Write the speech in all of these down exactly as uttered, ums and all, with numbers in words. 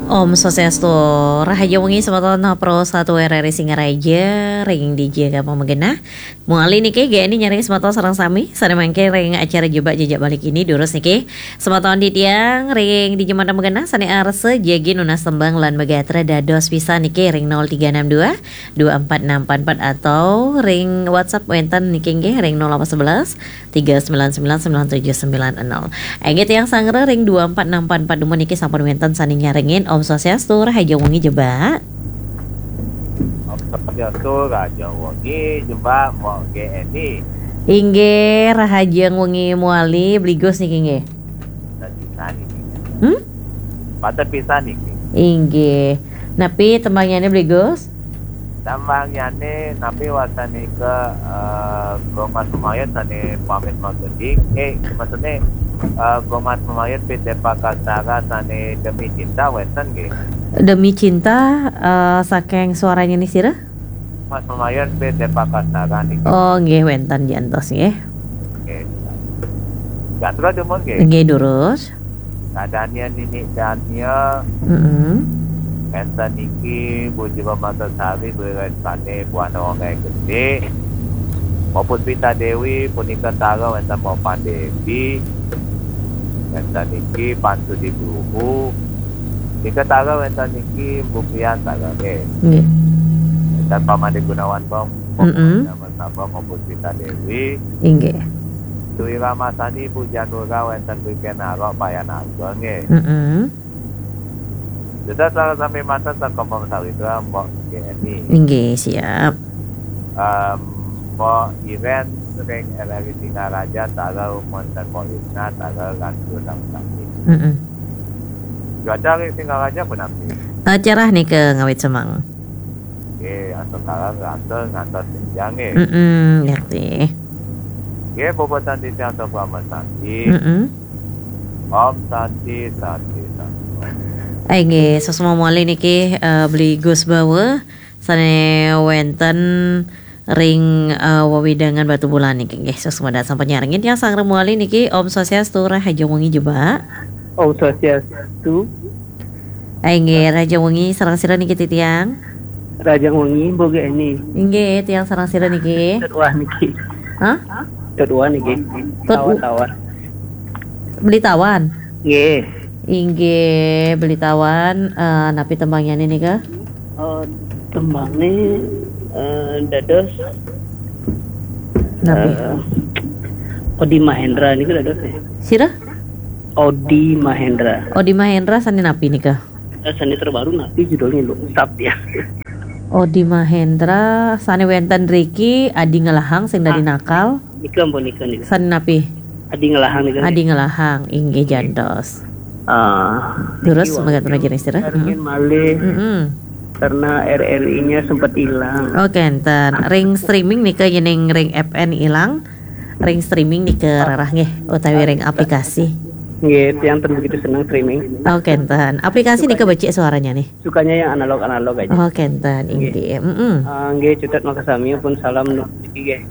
Om Swastiastu, rahajeng wengi semeton Pro satu R R I Singaraja, ring dija ké pamagena. Mawali niki G N I nyaring semeton sareng sami, sané mangkin ring acara Jebak Jejak Bali Kini, durus niki. Semeton titiang ring dija madan magena sané arsa jagi nunas tembang lan magatra dados pisan niki ring nol tiga enam dua, dua empat enam empat empat atau ring WhatsApp wénten niki nggih ring nol delapan sebelas, tiga sembilan sembilan, sembilan tujuh sembilan nol. Inggih tiang sanggra ring dua empat enam empat empat dumun niki sampun wénten sané nyarengin. Om Swastiastu, rahajeng wengi Jebak. Om Swastiastu, rahajeng wengi Jebak, Mbok G N I. Inggih, rahajeng wengi mawali, Bli Gus niki nggih. Patut pisan niki. Hmm? Patut pisan niki. Inggih. Napi tembangnyané Bli Gus? Tembangnyané napi wastané nika, eh, Gung Mas Mamayun sané pamit magending. Eh, maksudné, eh, Gung Mas Mamayun P T Pakastara sané Demi Cinta wénten nggih. Demi Cinta, eh, saking suaranya nih sira? Mas Mamayun P T Pakastara niki. Oh, nggih wénten jantos nggih. Nggih. Gatra dumun nggih. Nggih, durus. Kadania Nini Dania. Mm-mm. Énten niki Bu Jiwa Matasari, Bu Restani, Bu Ana Wongai Gedé. Bu Puspita Dewi, punika tara wénten Bu Pandewi. Énten niki Pan Sudi Guru. Nika tara wénten niki Bu Priyan tara nggih. Nggih. Énten Pak Made Gunawan Bong, Bu Mm-mm. Nama Sabang, Bu Puspita Dewi. Inggih. Dwi Ramasani, Bu Janura, wénten Bu Kenaro, Payan Ageng nggih. Mm-mm. Dados sareng sami manten sakompong sawitra, Mbok G N I. Inggih, siap. Em, Mbok Iren ring R R I Singaraja, tara wénten Mbok Isna, tara lantur sareng sami. Mm-mm. Cuaca ring Singaraja punapi? Eh, cerah nika ngawit semeng. Nggih, atur kaler, atur ngantos senja nggih. Mm-mm, ngerti. Nggih, puputang titiang antuk Parama Santi. Mm-mm. Om Santi, Santi, Santi. Eh, nggih, suksma malih niki, eh, Beli Gus Bawa, sané wénten ring, eh, wewidangan Batubulan niki. Nggih, suksma dahat sampun nyarengin tiang sanggra malih niki. Om Swastiastu, rahajeng wengi Jebak. Om Swastiastu. Eh, nggih, rahajeng wengi sareng sira niki titiang. Rahajeng wengi, Mbok G N I. Inggih, tiang sareng sira niki. Tut Wah niki. Hah? Tut Wah niki. Tut Tawan, Tawan. Beli Tawan? Nggih. Inggih, Beli Tawan, eh, napi tembangnyané nika? Eh, tembangné, eh, dados, napi? Eh, Odi Mahendra niku dados, ya. Sira? Odi Mahendra. Odi Mahendra sané napi nika? Eh, sané terbaru napi judulnya, lho? Sap ya. Odi Mahendra sané wénten riki Adi Ngelahang sing dadi Ah. nakal. Nika ampun nika nika. Sané napi? Adi Ngelahang nika. Adi Ngelahang, inggih jantos. Ah, terus niki mangga wau terus jenis tira. Ingin malih Mm-mm. karena R R I-nya sempat hilang. Oh, kénten. Ring streaming nika yéning ring F N ilang. Ring streaming nika rarah nggih utawi ring aplikasi. Nggih, tiang ten begitu seneng streaming. Oh, kénten. Aplikasi nika becik suaranya nih. Sukanya yang analog-analog aja. Oh, kénten, inggih. Mm-mm. Ah, nggih, cutet makasami pun salam nu-, niki nggih.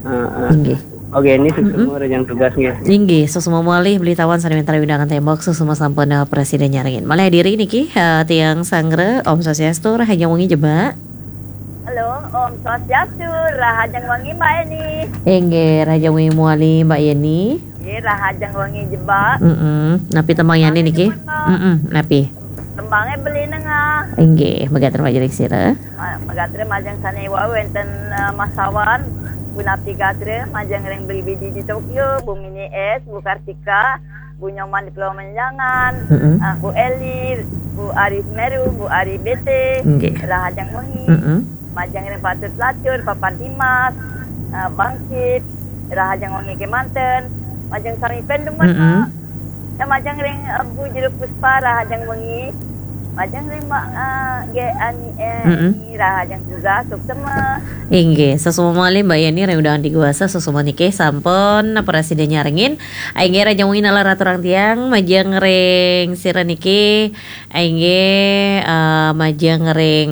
Ah, ah. Inggih. Oke, ini Mm-mm. semua yang tugas nggih. Inggih, suksma malih Beli Tawan sané wénten undangan tembok, suksma sampun, eh, presiden nyarengin. Malih hadiri niki, eh, tiang sanggra, Om Swastiastu, rahajeng wengi Jebak. Halo, Om Swastiastu, rahajeng wengi Mbak Eni. Inggih, rahajeng wengi malih Mbak Yeni. Nggih, rahajeng wengi Jebak. Mm-mm. Napi tembangnyané niki? Jebak, Mbak. Mm-mm, napi? Tembangé Beli Nengah. Inggih, magatra majeng sira. Ma-, magatra majeng sané wau wénten, eh, Mas Sawan, punapi gatra majeng ring Beli Bidi di Tokyo, Bu Mini S, Bu Kartika, Bu Nyoman di Pulau Menjangan, Mm-mm. eh, Bu Eli, Bu Ari Semeru, Bu Ari B T, Nggih. Rahajeng wengi, Mm-mm. majeng ring Patut Pelacur, Papa Dimas, eh, Bangkit, rahajeng wengi kémanten, majeng sami pun dumun, Mm-mm. Mak. Ya, majeng ring, eh, Bu Juru Puspa, rahajeng wengi. Majeng ring Mak, eh, G N I, Mm-mm. rahajeng tugas, suksma. Inggih, suksma malih Mbak Yeni ring undangan Diguasa, suksma niki sampun presiden nyarengin. Inggih, rahajeng wengi nalar aturang tiang, majeng ring sira niki, inggih, eh, majeng ring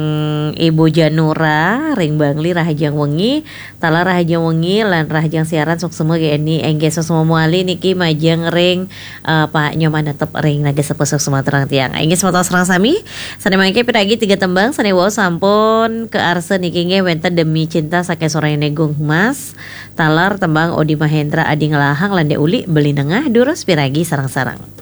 Ibu Janura, ring Bangli, rahajeng wengi. Taler rahajeng wengi lan rahajeng siaran, suksma G N I, inggih suksma malih niki majeng ring, eh, Pak Nyoman Netep ring Naga Sepuh, suksma aturang tiang. Inggih semeton sareng sami, Sané mangké piragi tiga tembang sané wau sampun kaarsa niki nggih wénten Demi Cinta saking Soraya Negong Humas, taler tembang Odi Mahendra Adi Ngelahang lan Dék Uli Beli Nengah, durus piragi sareng-sareng.